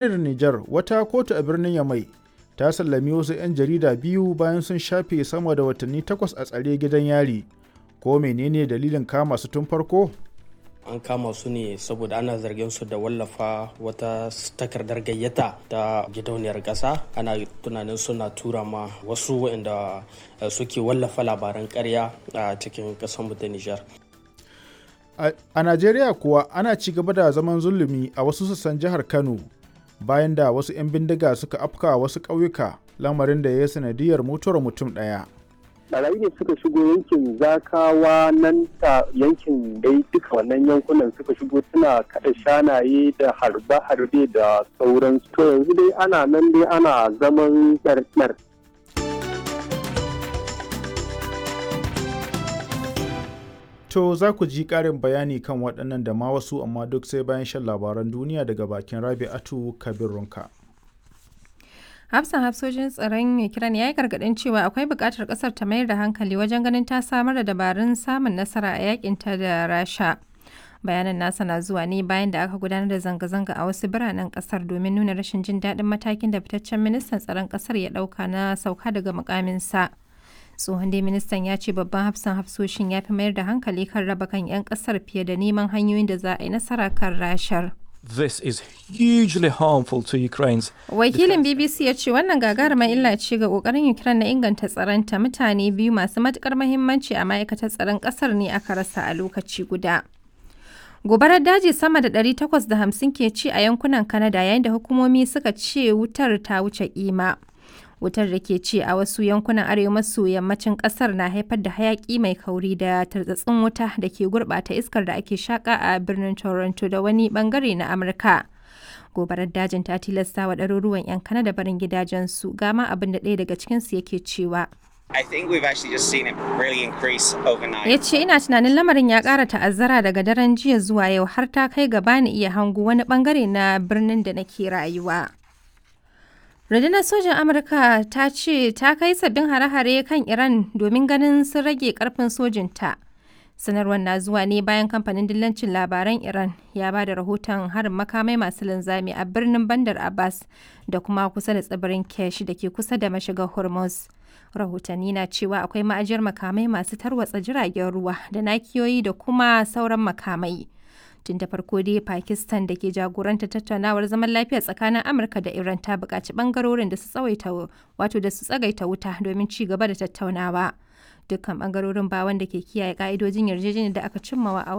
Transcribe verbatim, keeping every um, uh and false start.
Jamhuriyar Nijar, wata kotu a birnin Yamai ta sallami wasu 'yan jarida biyu bayan sun shafe sama da watanni takwas a tsare gidan yari, ko mene ne dalilin kama su tun farko? An kama su ne saboda ana zargin su da wallafa wata takardar gayyata ta gidauniyar ƙasa. Ana tunanin suna tura ma wasu waɗanda suke wallafa labaran ƙarya a cikin ƙasarmu ta Nijar. A Najeriya kuwa ana ci gaba da zaman zulumi a wasu sassan jihar Kano bayan da wasu 'yan bindiga suka afka wasu ƙauyuka lamarin da ya yi sanadiyar mutuwar mutum ɗaya. Barayi ne suka shigo yankin Zakawa nan ta yankin dai duka wannan yankunan suka shigo suna kada shanaye da harbe-harbe da sauran to yanzu dai ana nan dai ana zaman ɗarɗar. To za ku ji ƙarin bayani kan waɗannan da ma wasu amma duk sai bayan shan labaran duniya daga bakin Rabi'atu Kabir Runka. Hafsan hafsoshin tsaron Ukraine ya yi gargaɗin cewa akwai buƙatar ƙasar ta mayar da hankali wajen ganin ta samar da dabarun samun nasara a yakinta da Rasha. Bayanan nasa na zuwa ne bayan da aka gudanar da zanga-zanga a wasu biranen ƙasar domin nuna rashin jin daɗin matakin da fitaccen ministan tsaron ƙasar ya ɗauka na sauka daga mukaminsa. Tsohon dai ministan ya ce babban hafsan hafsoshin ya fi mayar da hankali kan raba kan 'yan ƙasar fiye da neman hanyoyin da za a yi nasara kan Rashar. This is hugely harmful to Ukraine's. Wakilin B B C ya ce wannan gagarumar illa ce ga kokarin Ukraine na inganta tsaronta. Mutane biyu masu matukar mahimmanci a ma'aikatar tsaron kasar ne aka rasa a lokaci guda. Gobarar daji sama da ɗari takwas da hamsin ke ci a yankunan Canada yayin da hukumomi suka ce wutar ta wuce kima. Wutar da ke ci a wasu yankunan arewa maso yammacin kasar na haifar da hayaki mai kauri da tartsatsin wuta da ke gurbata iskar da ake shaka a birnin Toronto da wani bangare na Amurka. Gobarar dajin ta tilasta wa ɗaruruwan 'yan Kanada barin gidajensu. Gama abin da ɗaya daga cikinsu yake cewa. I think we've actually just seen it really increase overnight. Ya ce ina tunanin lamarin ya ƙara ta'azzara daga daren jiya zuwa yau, har ta kai gaba ni iya hango wani bangare na birnin da nake rayuwa. Rundunar sojan Amurka ta ce ta kai sabbin hare-hare kan Iran domin ganin sun rage karfin sojinta. Sanarwar na zuwa ne bayan kamfanin dillancin labaran Iran ya ba da rahoton harin makamai masu linzami a birnin Bandar Abbas da kuma kusa da tsibirin Kesh da ke kusa da mashigar Hormuz. Rahotanni na cewa akwai ma'ajiyar makamai masu tarwatsa jiragen ruwa da nakiyoyi da kuma sauran makamai. Tun da farko dai Pakistan da ke jagoranta tattaunawar zaman lafiya tsakanin Amurka da Iran ta buƙaci ɓangarorin da su tsawaita, wato da su tsagaita wuta domin ci gaba da tattaunawa. Dukkan ɓangarorin ba wanda ke kiyaye ƙa'idojin yarjejeniyar da aka cimmawa a